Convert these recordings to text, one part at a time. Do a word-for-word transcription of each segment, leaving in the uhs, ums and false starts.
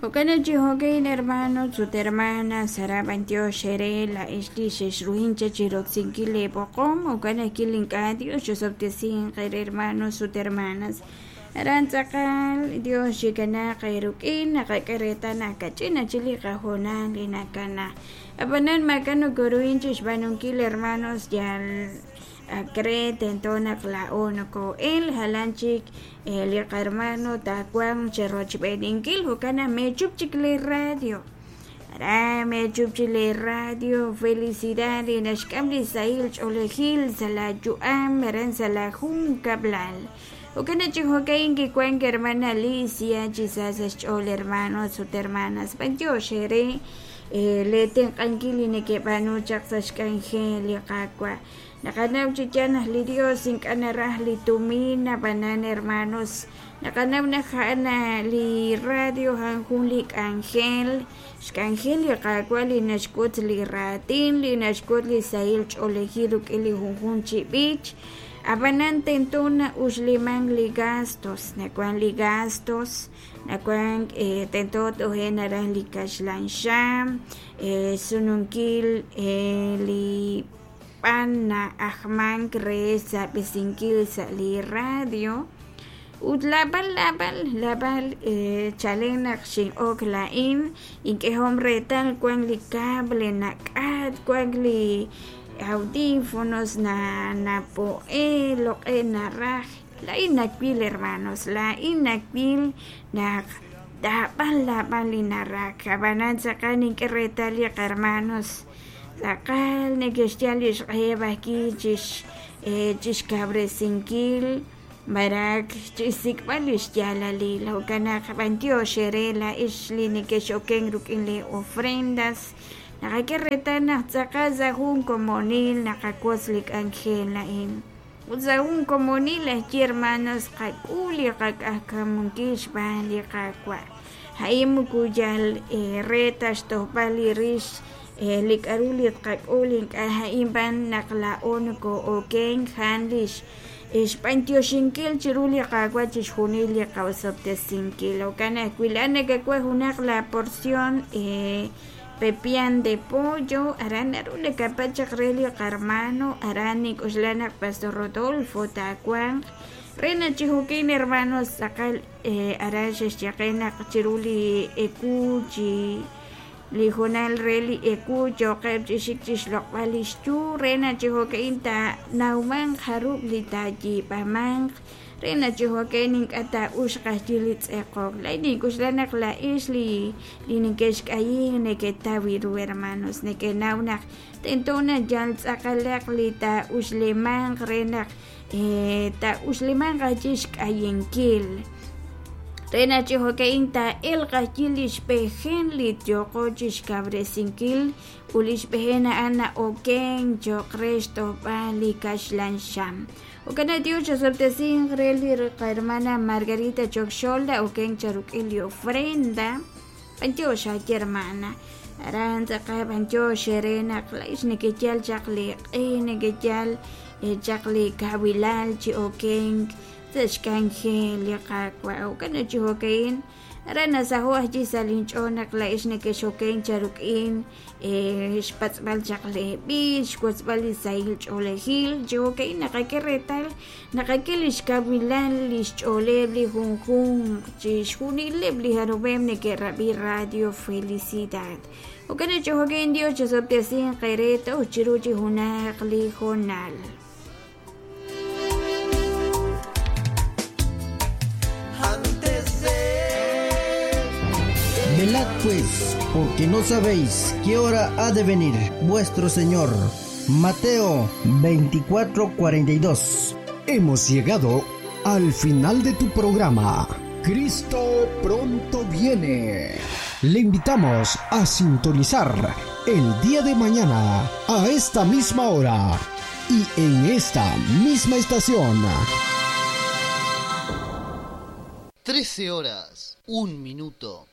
Jo'kan chi jo'kan hermanos ut hermanas aran b'antiox eere laa'ex li xexruhin cha chiroksinkil leeb'oqom jo'kan ajwi' ink'a' Dios xosobtesinq eere hermanos ut hermanas aran tz'aqal Dios xikanaaq eeruk'in naqak'e reetal naq kach'in achik li qahoonal li nakana ab'anan maak'a' nokoruhin chixb'aanunkil hermanos yal akre tento naq laa'o noko'el jalan chik li qahermano taawanq cherochb'eeninkil jo'kan naq meechup chik li radio aran meechup chik li radio Felicidad li naxk'am li sahil ch'oolejil sa' la yu'am aran sa' la junkab'lal jo'kan naq chi jo'kan kiwank hermana Alicia chi sa sa' xch'ool hermanos ut hermanas b'antiox eere le tenq'ankil li nekeb'aanu chaq sa' xk'anjel li Qaawa' naqanaw chi yaal naq li Dios ink'a' naraj li tumin ab'anan hermanos naqanaw naq a'an li radio a'an jun li k'anjel xk'anjel li Qaawa' li naxk'ut li raatin li naxk'ut li sahil ch'oolejil rik'in li junjunq chi b'ich ab'anan tento na'uxlimank li gastos nawan li gastos nawan tento toje' naraj li kaxlan xam sununkil li b'an na'ajmank re xsab'esinkil sa' li radio ut lab'al lab'al lab'al chalen naq xin'ok laa'in ink'ehom reetal wan li cable nak'at wan li audífonos na napo'e loq'e naraj laa'in nawil hermanos laa'in nawil naq lab'al lab'al li naraj ab'anan tz'aqal nink'e reetal li qahermanos tz'aqal neke'xyal li xq'eheb' ajwi' chix chixkawresinkil marak chixsik'b'al li xyaalalil jo'kan naq b'antiox eere laa'ex li neke'x'oken rik'in li ofrendas naqak'e reetal naq tz'aqal sa' jun komonil naqawotz li k'anjel a'in ut sa' jun komonil ajwi' hermanos qak'ul li qak'ajkamunkil xb'aan li Qaawa' a'in moko yal re ta xtojb'al li rix li k'aru li tqak'ul ink'a' a'in b'an naq laa'o noko'oken a'an li xb'antioxinkil chiru li Qaawa' chixjunil li qaosob'tesinkil jo'kan ajwi' laa'an nakawaj junaq la porción pepián de pollo aran naru nakapach chaq re li qahermano aran nink'uxla naq Pastor Rodolfo taawanq re naq chi jo'kan hermanos tz'aqal aran xexyaqe naq chiru li ewu chi li hoonal re li ewu yo'qeb' chi xik chixloq'b'al li xyu re naq chi jo'kan taanawmanq jarub' li taayiib'amanq re naq chi jo'kan ink'a' taa'uxq ajwi' li tz'eqok laa'in nink'uxla naq laa'ex li li neke'xk'ayin neketaw ru hermanos nekenaw naq tento naq yal tz'aqalaq li taa'uxlimanq re naq taa'uxlimanq ajwi' xk'ayinkil re naq chi jo'kan taa'elq ajwi' li xb'ejen li yooqo chixkawresinkil ut li xb'ejen a'an na'oken cho'q re xtojb'al li kaxlan xam jo'kan naq Dios xosob'tesinq re li qahermana Margarita Chokxol na'oken cha rik'in li ofrenda b'antiox ajwi' hermana aran tz'aqal b'antiox eere naq laa'ex nekeyal chaq li q'e nekeyal chaq li kawilal chi okenk sa' xk'anjel li Qaawa' jo'kan naq chi jo'kan aran nasaho' ajwi' sa' linch'ool naq laa'ex nekex'oken cha rik'in xpatz'b'al chaq leeb'ich xwotzb'al li sahil ch'oolejil chi jo'kan naqak'e reetal naqak'e li xkawilal li xch'ooleb' li junjunq chixjunileb' li jarub'eb' neke'rab'i Radio Felicidad jo'kan naq chi jo'kan Dios chosob'tesinq eere toj chiru chi junaq li hoonal. Velad pues, porque no sabéis qué hora ha de venir vuestro Señor. Mateo veinticuatro cuarenta y dos. Hemos llegado al final de tu programa. Cristo pronto viene. Le invitamos a sintonizar el día de mañana a esta misma hora y en esta misma estación. Trece horas, un minuto.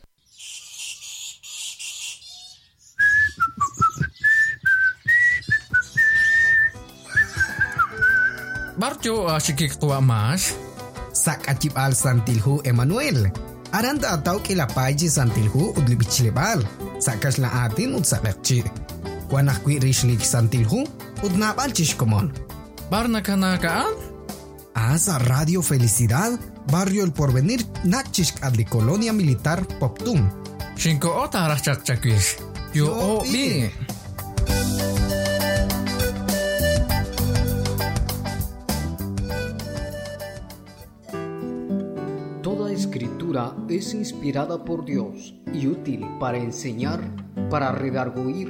Barjo ashikik tuwa mash. Sakachibal Santilhu Emanuel. Aran taataw k'iila paay chi Santil Hu ut li b'ichleb'aal, sa' kaxlan aatin ut sa' q'eqchi'. Wan ajwi' rix li Santil Hu ut naab'al chi xkomon. B'ar nakanaak a'an? Ah, sa' Radio Felicidad, Barrio El Porvenir, nach chixk'at li Colonia Militar Poptún. Xinko'o taaraj chaq chawix. Yo'o b'i. Toda escritura es inspirada por Dios y útil para enseñar, para redarguir,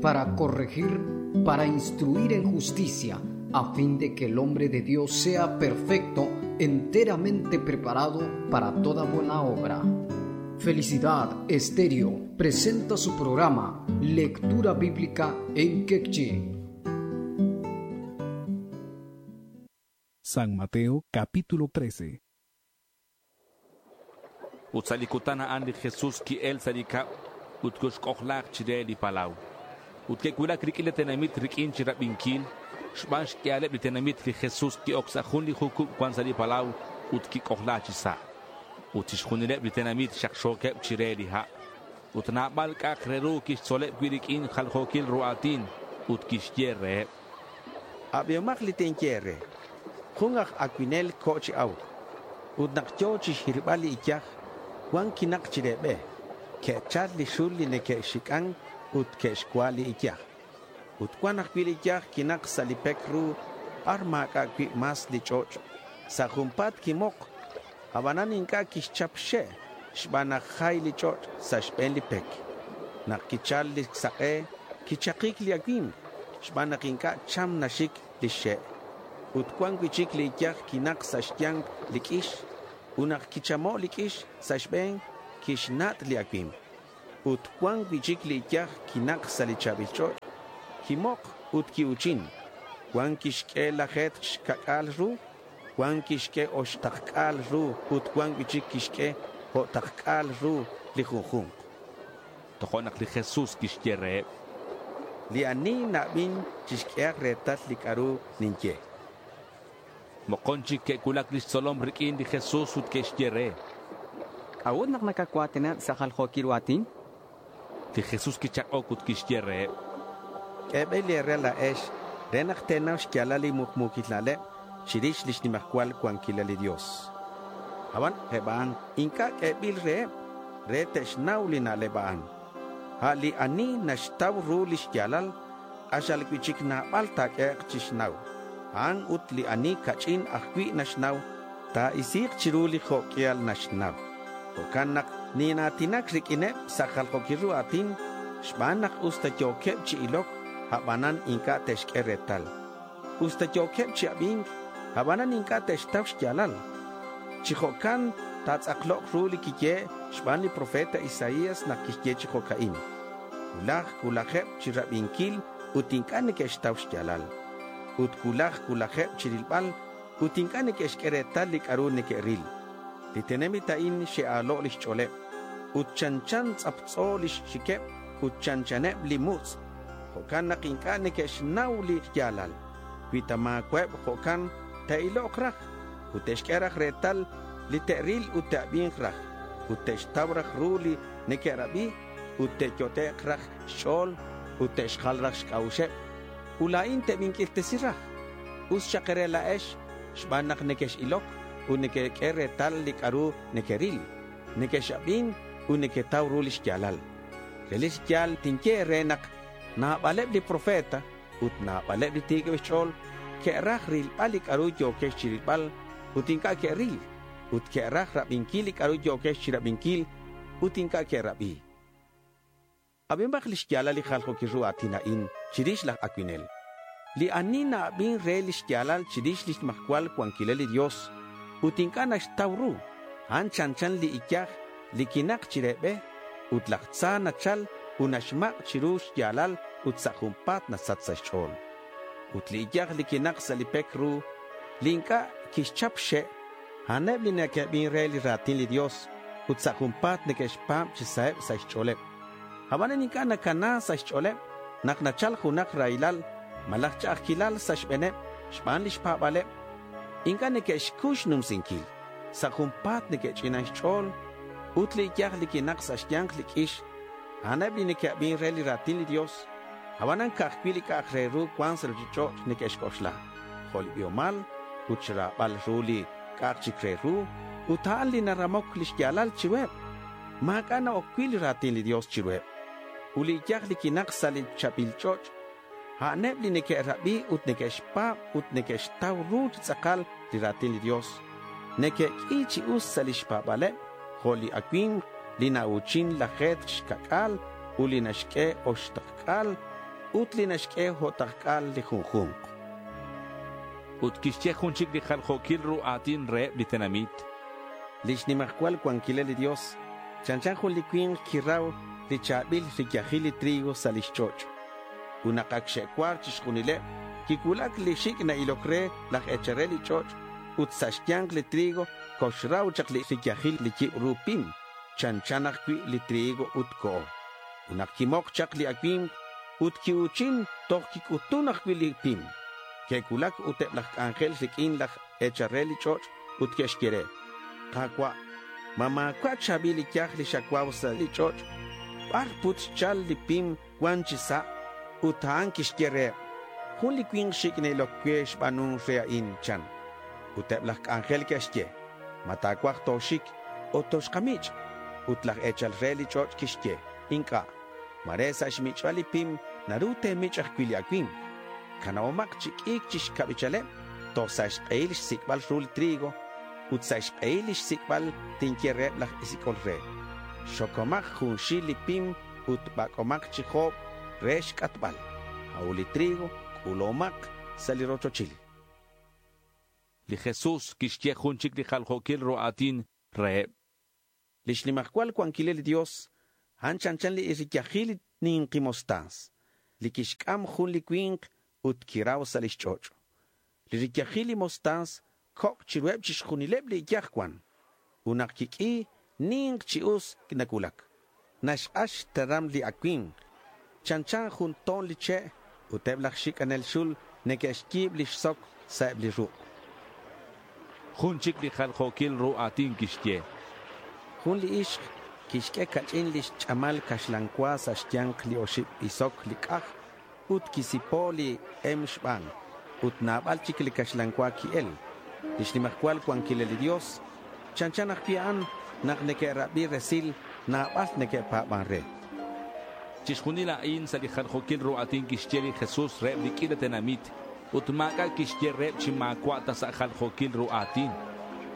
para corregir, para instruir en justicia, a fin de que el hombre de Dios sea perfecto, enteramente preparado para toda buena obra. Felicidad Estéreo presenta su programa Lectura Bíblica en Quechí. San Mateo capítulo trece. Ut sa' li kutan a'an li Jesús ki'el sa' li kab' ut koxk'ojlaaq chire li palaw. Ut ke'wulak rik'in li tenamit rik'in chi rab'inkil, xb'aan xk'ihaleb' li tenamit li Jesús ki'ok sa' jun li jukub' wan sa' li palaw ut kik'ojlaa chi sa'. Ut chixjunileb' li tenamit xaqxookeb' chire li ha'. Ut naab'al k'a'aq re ru kixtzoleb' wi' rik'in jaljookil ru aatin ut kixye reheb'. Ab'ihomaq li tinye re. Jun aj awinel ko' chi awk. Ut naq yo chi xhirb'al li iyaj, wan kinaq chire b'e. Ke'chal li xul li neke'xik'an ut ke'xwa li iyaj. Ut wan ajwi' li iyaj kinaq sa' li pek ru b'ar maak'a' wi' mas li ch'och'. Sa' junpaat kimoq, ab'anan ink'a' kixchap xe' xb'aan naq jay li ch'och' sa' xb'een li pek. Naq kichal li saq'e, kichaqik li awimq xb'aan naq ink'a' cham naxik li xe'. Ut wan wi' chik li iyaj kinaq sa' xyanq li k'ix. Ut naq kichamo' li k'ix sa' xb'een, kixnat' li awimq. Ut wan wi' chik li iyaj kinaq sa' li chaab'il ch'och', kimoq ut ki'uchin. Wan kixk'e lajeetq xkak'aal ru, wan kixk'e oxtaqk'aal ru ut wan wi' chik kixk'e jo'taqk'aal ru li junjunq. Tojo' naq li Jesús kixye reheb'. Li ani na'b'in chixk'ehaq reetal li k'a'ru ninye. Moqon chik ke'wulak li xtzolom rik'in li Jesús ut ke'xye re. K'a'ut naq nakawatineb' sa' jaljookil ru aatin? Li Jesús kichaq'ok ut kixye reheb'. K'eeb'el eere laa'ex re naq teenaw xyaalal li muqmuukil na'leb' chirix li xnimajwal wankilal li Dios. Ab'an eb' a'an ink'a' k'eeb'il reheb' re te'xnaw li na'leb' a'an. A' li ani naxtaw ru li xyaalal, q'axal wi' chik naab'al taak'ehe'q chixnaw. A'an ut li ani kach'in ajwi' naxnaw, taa'isiiq chiru li jo'k'ihal naxnaw. Jo'kan naq ninaatinak rik'ineb' sa' jaljookil ru aatin, xb'aan naq us ta yookeb' chi ilok, ab'anan ink'a' te'xk'e reetal. Us ta yookeb' chi ab'ink, ab'anan ink'a' te'xtaw xyaalal. Chi jo'kan taatz'aqloq ru li kiye xb'aan li profeta Isaías naq kixye chi jo'ka'in. Wulaj wulajeb' chi rab'inkil ut ink'a' neke'xtaw xyaalal. Ut wulaj wulajeb' chi rilb'al ut ink'a' neke'xk'e reetal li k'a'ru neke'ril. Li tenamit a'in xe'aalo' li xch'ooleb' ut chanchan tz'aptz'o li xxikeb' ut chanchaneb' li mutz'. Jo'kan naq ink'a' neke'xnaw li xyaalal. Wi ta maaweb' jo'kan te'iloq raj ut te'xk'e raj reetal li te'ril ut te'ab'inq raj ut te'xtaw raj ru li neke'rab'i ut te'yote'q raj xch'ool ut te'xjal raj xk'a'uxeb'. Ut laa'in te'b'ink'irtesi raj. Us xaq ere laa'ex xb'aan naq neke'xilok ut neke'k'e reetal li k'a'ru neke'ril, neke'xab'in ut neke'taw ru li xyaalal. Relik yaal tinye re naq naab'aleb' li profeta ut naab'aleb' li tiikeb' xch'ool ke'raj rilb'al li k'a'ru yookex chi rilb'al ut ink'a' ke'ril, ut ke'raj rab'inkil li k'a'ru yookex chi rab'inkil ut ink'a' ke'rab'i. Ab'inb'aq li xyaalal li jaljookil ru aatin a'in chirix laj awinel. Li ani na'ab'in re li xyaalal chirix li xmajwal wankilal li Dios ut ink'a' naxtaw ru, a'an chanchan li iyaj li kinaq chire b'e ut laj tza nachal ut naxmaq' chiru xyaalal ut sa' junpaat nasach sa' xch'ool. Ut li iyaj li kinaq sa' li pek ru, li ink'a' kixchap xe', a'aneb' li neke'b'in re li raatin li Dios ut sa' junpaat neke'xpaab' chi saheb' sa' xch'ooleb'. Ab'anan ink'a' nakana sa' xch'ooleb' naq nachal junaq rahilal malaj ch'a'ajkilal sa' xb'eeneb' xb'aan li xpaab'aleb', ink'a' neke'xkuy xnumsinkil. Sa' junpaat neke'ch'inan xch'ool Ut li iyaj li quinak sa' xya̱nk li q'uix, a'aneb li neque'abin re li ra̱tin li Dios. Abanan ca'ajcui' li c'a'ak re ru cuan sa' ruchich'och' neque'xc'oxla, jo' li biomal ut xra̱bal ru li c'a'ak chic re ru, ut a'an li naramoc lix ya̱lal chiruheb. Ma̱c'a' na-oc cui' li ra̱tin li Dios chiruheb. Ut li iyaj li quinak sa' li cha̱bil ch'och', a'aneb li neque'rabi ut neque'xpa̱b ut neque'xtau ru chi tz'akal li ra̱tin li Dios. Neque'q'ui chi us sa' lix pa̱ba̱leb, jo' li acui̱mk li nau̱chin laje̱tk xca'c'a̱l ut li naxq'ue oxtakc'a̱l ut li naxq'ue o'takc'a̱l li junju̱nk. Ut quixye jun chic li jaljo̱quil ru a̱tin reheb li tenamit. Lix nimajcual cuanquilal li Dios chanchan jun li cui̱nk quirau li cha̱bil riyajil li trigo sa' lix ch'och'. Ut nak ac xe'cuar chixjunileb, quicuulac li xic' na'iloc re laj e̱chal re li ch'och' ut sa' xya̱nk li trigo coxrau chak li riyajil li yibru pim, chanchan ajcui' li trigo ut co'o. Ut nak quimok chak li acui̱mk ut quiu̱chin toj quic'utun ajcui' li pim. Que'cuulac ut eb laj c'anjel riq'uin laj e̱chal re li ch'och' ut que'xye re, Ka̱cua', ma ma̱cua' cha̱bil li yaj li xacuau sa' li ch'och', bar put xchal li pim cuan chi sa'? Ut a'an quixye reheb, jun li cui̱nk xic' na'iloc cue xba̱nun re a'in, chan. Ut eb laj c'anjel que'xye, ma ta̱cuaj toxic ut toxkamich'? Ut laj e̱chal re li ch'och' quixye, inc'a', mare sa' xmich'bal li pim naru te̱mich' ajcui' li acui̱mk. Canaomak chi q'uic chi xcabichaleb toj sa' xk'ehil xsic'bal ru li trigo ut sa' xk'ehil li xsic'bal tinye reheb laj isic'ol re. Xocomak junxil li pim ut bac'omak chi job re xc'atbal. A'u li trigo c'ulomak sa' li rochochil. Li Jesús quixye jun chic li jaljo̱quil ru a̱tin reheb. Lix nimajcual cuanquilal li Dios, a'an chanchan li riyajil li ninqi mostaz, li quixc'am jun li cui̱nk ut quirau sa' lix ch'och'. Li riyajil li mostaz coc' chiruheb chixjunileb li iyaj cuan. Ut nak quiq'ui ninq chi us nacuulac. Naxk'ax xteram li acui̱mk. Chanchan jun ton li che' ut eb laj xic'anel xul neque'xyi̱b lix soc sa' eb li ruk'. Jun chic li jaljo̱quil ru a̱tin quixye. Jun li ixk quixq'ue cach'in lix ch'amal caxlan cua sa' xya̱nk li oxib isok li c'aj ut quisipo li em xban ut naabal chic li caxlan cua qui'el. Lix nimajcual cuanquilal li Dios chanchan ajcui' a'an nak neque'rabi resil naabal neque'pa̱ban re. Chixjunil a'in sa' li jaljo̱quil ru a̱tin quixye li Jesús reheb li q'uila tenamit ut ma̱c'a' quixye reheb chi ma̱cua' ta sa' jaljo̱quil ru a̱tin.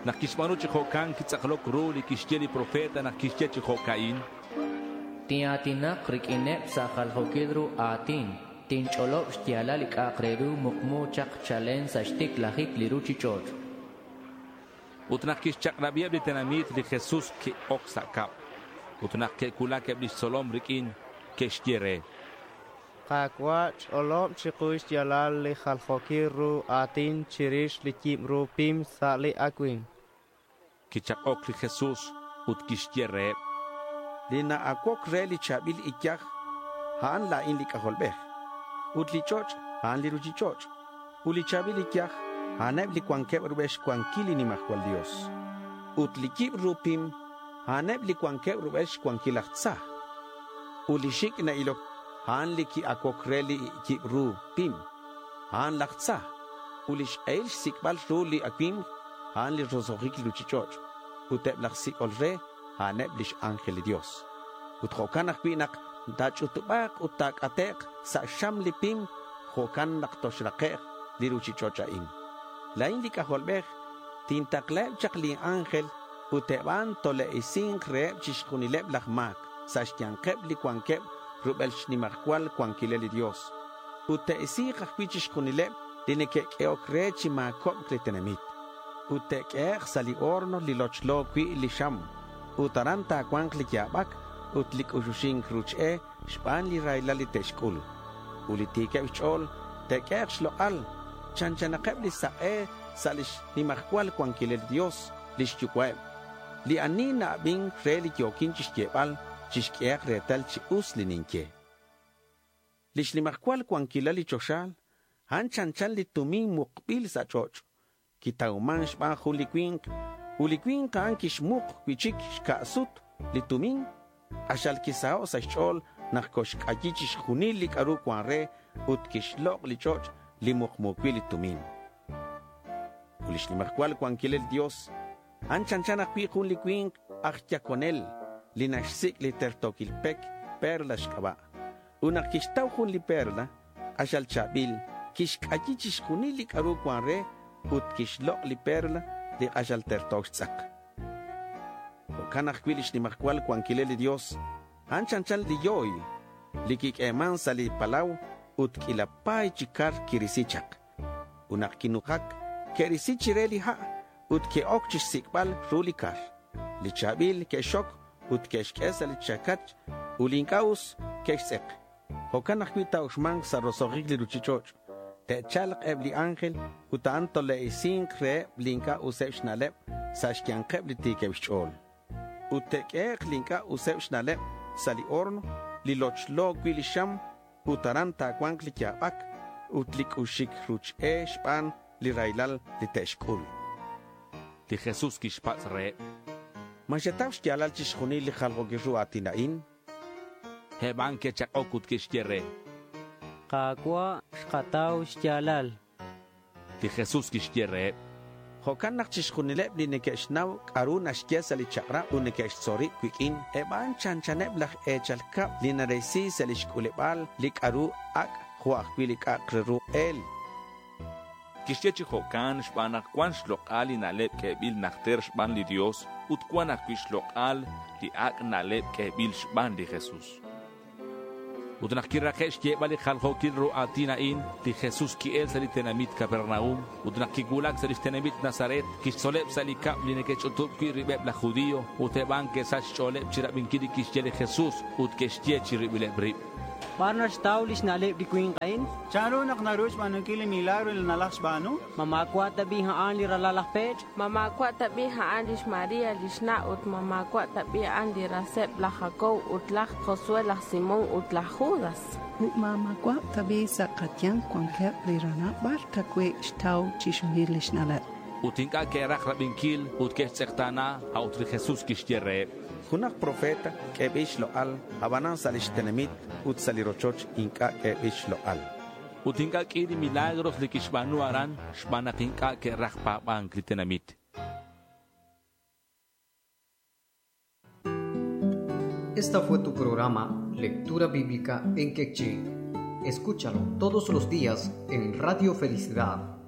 Nak quixba̱nu chi jo'can quitz'akloc ru li quixye li profeta nak quixye chi jo'ca'in. Tin'a̱tinak riq'uineb sa' jaljo̱quil ru a̱tin. Tinch'olob xya̱lal li c'a'ak re ru mukmu chak chalen sa' xticlajic li ruchich'och'. Ut nak quixchak'rabiheb li tenamit li Jesús qui'oc sa' cab. Ut nak que'cuulac eb lix tzolom riq'uin, que'xye re. Ka̱cua' ch'olob chiku xya̱lal li jaljo̱quil ru a̱tin chirix li yibru pim sa' li acui̱mk. Quichak'oc li Jesús ut quixye reheb. Li na'acuoc re li cha̱bil iyaj, a'an la̱in li C'ajolbej. Ut li ch'och', a'an li ruchich'och'. Ut li cha̱bil iyaj, a'aneb li cuanqueb rubel xcuanquil li nimajcual Dios. Ut li yibru pim, a'aneb li cuanqueb rubel xcuanquil laj tza. Ut li xic' na'iloc, a'an li qui'acuoc re li yibru pim, a'an laj tza. Ut li xk'ehil xsic'bal ru li acui̱mk, a'an li roso'jic li ruchich'och'. Ut eb laj sic'ol re, a'aneb lix ángel li Dios. Ut jo'kan ajcui' nak ta̱ch'utub'a̱k ut ta̱c'ate'k sa' xam li pim, jo'kan nak toxrake'k li ruchich'och' a'in. La̱in li C'ajolbej tintaklaheb chak li ángel ut eb a'an tole'isi̱nk reheb chixjunileb laj ma̱c sa' xya̱nkeb li cuanqueb rubel xnimajcual cuanquilal li Dios. Ut te'isi̱k ajcui' chixjunileb li neque'q'uehoc re chi ma̱cobc li tenamit. Ut te'q'ue'ek sa' li horno li lochlo cui' li xam. Ut aran ta̱cua̱nk li ya̱bac ut li c'uxuxink ruch-e xban li raylal li te'xc'ul. Ut li ti̱queb xch'o̱l te'q'ue'ek xlok'al chanchanakeb li sak'e sa' lix nimajcual cuanquilal li Dios lix yucua'eb. Li ani na'abin re li yo̱quin chixyebal chixq'uehak retal chi us li ninye. Lix nimajcual cuanquilal li choxal, a'an chanchan li tumin mukbil sa' ch'och'. Quitauman xban jun li cui̱nk, ut li cui̱nk a'an quixmuk cui'chic xca'sut li tumin, q'axal kisaho' sa' xch'ool naq koxk'ayi chixjunil li k'aru wan re ut kixloq' li ch'och' li muqmu wi' li tumin. Ut li xnimajwal wankilal Dios, a'an chanchan ajwi' jun li winq aj yakonel li naxsik' li tertokil pek perla xk'ab'a'. Ut naq kixtaw jun li perla, q'axal chaab'il, kixk'ayi chixjunil li k'aru wan re ut kixloq' li perla li q'axal tertok xtz'aq. Jo'kan ajwi' li xnimajwal wankilal li Dios, a'an chanchan li yoy li kik'eeman sa' li palaw ut k'iila paay chi kar kirisi chaq. Ut naq kinujak, ke'risi chire li ha' ut ke'ok chixsik'b'al ru li kar. Li chaab'il ke'xok ut ke'xk'e sa' li chakach ut li ink'a' us ke'xtz'eq. Jo'kan ajwi' taa'uxmanq sa' roso'jik li ruchich'och'. Te'chalq eb' li ángel ut a'an tole'isinq reheb' li ink'a' useb' xna'leb' sa' xyanqeb' li tiikeb' xch'ool. Ut te'k'ehe'q li ink'a' useb' xna'leb' sa' li horno li lochlo wi' li xam ut aran taawanq li yaab'ak ut li k'uxik ruch e xb'aan li rahilal li te'xk'ul. Li Jesús kixpatz' reheb'. Ma xetaw xyaalal chixjunil li jaljookil ru aatin a'in? Eb' a'an ke'chaq'ok ut ke'xye re. Qaawa' xqataw xyaalal. Li Jesús kixye reheb'. Jo'kan naq chixjunileb' li neke'xnaw k'aru naxye sa' li chaq'rab' ut neke'xtzol rib' wik'in, eb' a'an chanchaneb' laj eechal kab' li narisi sa' li xk'uleb'aal li k'aru ak' jo' ajwi' li k'a'aq re ru q'eel. Kixye chi jo'kan xb'aan naq cuan xlok'al li na'leb' k'eeb'il najter xb'aan li Dios ut cuan ajwi' xlok'al li ak' na'leb' k'eeb'il xb'aan li Jesús. Ut naq kiraqe' xyeeb'al li jaljookil ru aatin a'in, li Jesús ki'el sa' li tenamit Capernaum ut naq kiwulak sa' lix tenamit Nazaret, kixtzoleb' sa' li kab' li neke'ch'utub' wi' rib'eb' laj judío ut eb' a'an ke'sach xch'ooleb' chirab'inquil li kixye li Jesús ut ke'xye chiribileb' rib'. B'ar naxtaw li xna'leb' li winq a'in? Chanru naq naru xb'aanunkil li milagro li nalaj xb'aanu? Ma maawa' tab'i a'an li ralal laj Pech? Ma maawa' tab'i a'an lix María lix na' ut ma maawa' tab'i a'an li raseb' laj Jacob ut laj Josué, laj Simón ut laj Judas? Ut ma maawa' tab'i sa' qayanq wankeb' li ranab' b'ar tawi' xtaw chixjunil li xna'leb'. Ut ink'a' ke'raj rab'inkil ut ke'xtz'eqtaana, a'ut li Jesús kixye reheb'. Junaq profeta k'eeb'il xloq'al, ab'anan sa' lix tenamit ut sa' li rochoch ink'a' k'eeb'il xloq'al. Ut ink'a' k'i li milagros li kixb'aanu aran xb'aan naq ink'a' ke'raj paab'ank li tenamit. Esta fue tu programa Lectura Bíblica en Quechí. Escúchalo todos los días en Radio Felicidad.